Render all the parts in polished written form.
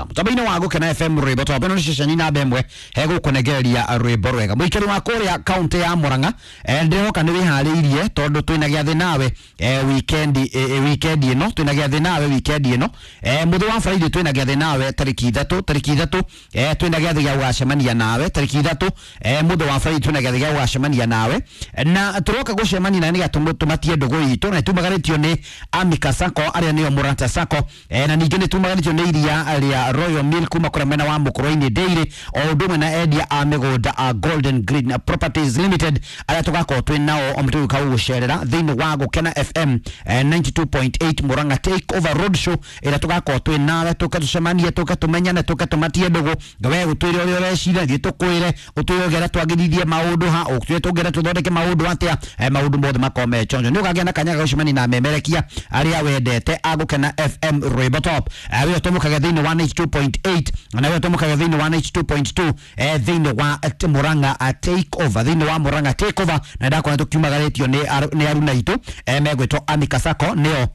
Mũtambo-inĩ wa Gũkena FM rwĩmbo tondũ ĩno nĩ ceceni namba ĩmwe hegũkũnengereria rwĩmbo rwega. Mũikari wa kũrĩa kaũntĩ ya Murang'a, ndĩrehoka nĩ wĩharĩirie tondũ twĩna gĩathĩ nawe weekend, weekend ĩno twĩna gĩathĩ nawe weekend ĩno, mũthĩ wa Friday twĩna gĩathĩ nawe tarĩki 3, tarĩki 3, twĩna gĩathĩ gĩa gũgacemania nawe tarĩki 3, mũthĩ wa Friday twĩna gĩathĩ gĩa gũgacemania nawe na tũroka gũcemania nawe nĩgetha tũmatie ndũgũ itũ, na tumagarĩtio nĩ Amika Sacco arĩa nĩo Mũrata Sacco, na ningĩ nĩ tumagarĩtio nĩ iria rĩa Royal Milk kuma kũrĩa mwena wa Mũkũrwe-inĩ Dairy, o ũndũ ũmwe na endia a mĩgũnda a Golden Green Properties Limited arĩa tũgakorwo twĩ nao o tũgĩũka gũgũcerera thĩinĩ wa Gũkena FM 92.8 Murang'a Take Over Road Show ĩrĩa tũgakorwo twĩ nawe, tũke tũcemanie, tũke tũmenyane, tũke tũmatie ndũgũ, we ũtwĩre ũrĩa ũreciria, ithuĩ tũkwĩre, ũtwĩre ũngĩenda twagĩrithie maũndũ ha, ũtwĩre tũngĩenda tũthondeke maũndũ atĩa, maũndũ mothe makorwo me chonjo. Nĩ ũkagĩa na kanya ga gũcemania na memerekia arĩa wendete a Gũkena FM rwĩmbo top, wĩyo tũmũkage thĩinĩ wa 92.8 na wĩyo tũmũkage thĩinĩ wa 92.2, thĩinĩ wa Murang'a Take Over, thĩinĩ wa Murang'a Take Over, na ndakorwo tũkiumagarĩtio nĩ aruna itũ, megwĩtwo Amika Sacco nĩo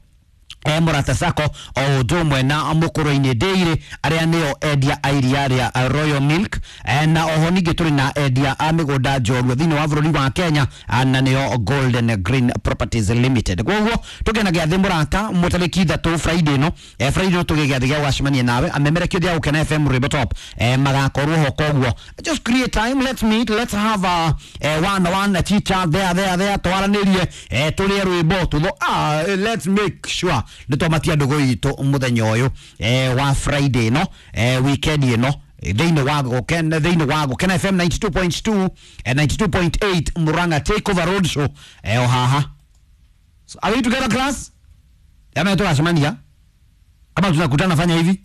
Mũrata Sacco, o ũndũ ũmwe na Mũkũrwe-inĩ Dairy arĩa nĩo endia a iria rĩa Royal Milk, na oho ningĩ tũrĩ na endia a mĩgũnda njorua thĩinĩ wa bũrũri wa Kenya, na nĩo Golden Green Properties Limited. Koguo tũgĩe na gĩathĩ mũrata mũtarĩki 3 Friday ĩno, Friday ĩno tũgĩe gĩathĩ gĩa gũgacemania nawe amemerekia othe a Gũkena FM rwĩmbo top, magakorwo ho. Koguo just create time, let's meet, let's have a one on one chit chat there there there, twaranĩrie, tũrĩe rwĩmbo tũtho, let's make sure nĩ twamatia ndũgũ itũ mũthenya ũyũ wa Friday ĩno, weekend ĩno, thĩinĩ wa Gũkena FM 92.2, 92.8 Murang'a Take Over Road Show, o haha. So, are we together, class? Ama tugacemania, kama tunakutana fanya hivi.